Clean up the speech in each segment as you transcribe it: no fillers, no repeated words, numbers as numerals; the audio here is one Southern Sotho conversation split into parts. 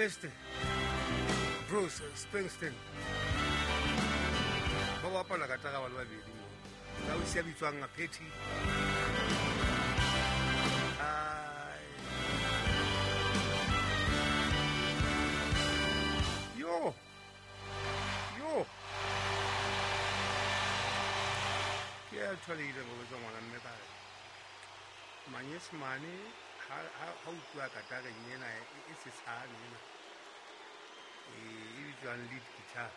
Mr Bruce Springsteen. Ba bapala katara ba le babedi mo. Ka o sia bitswang Patty. Ai. Yo. Yo. Ke a ntho le ileng go botsa ngwana mme ka re manyesemane ha utlwa katareng ena e sesane ena e bitswang lead guitar,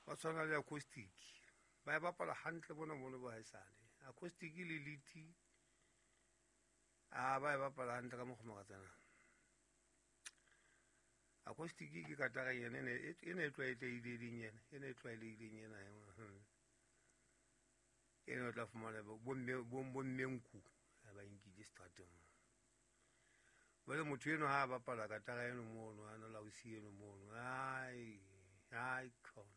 ba tshwana le acoustic, ba e bapala hantle bona mono ba haesale. Acoustic le lead a ba e bapala hantle ka mokgwa makatsana. Acoustic ke katara ena e ne e tlwaelehileng ena, e ne e tlwaelehileng ena. Ena o tla fumana bomme nku ba nkile seterateng. Jwale motho eno ha a bapala katara eno mono, a na lausi eno mono, ai ai khona.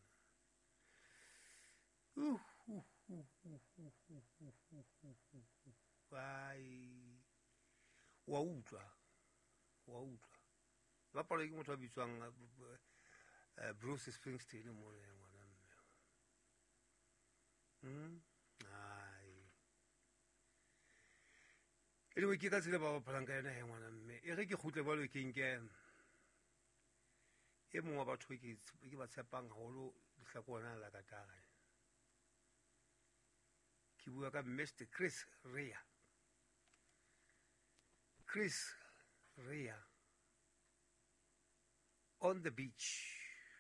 Ai wa utlwa, wa utlwa. Bapalwa ke motho a bitswang Bruce Springsteen mono ya ngwana mme. Ai. Anyway, ke ka tsela ba bapalang ka yona he ngwana mme. E re ke kgutle jwalo ke nke e mong wa batho ke ba tshepang haholo lehlakoreng la katara. Ke bua ka Mr Chris Rea. Chris Rea on the beach.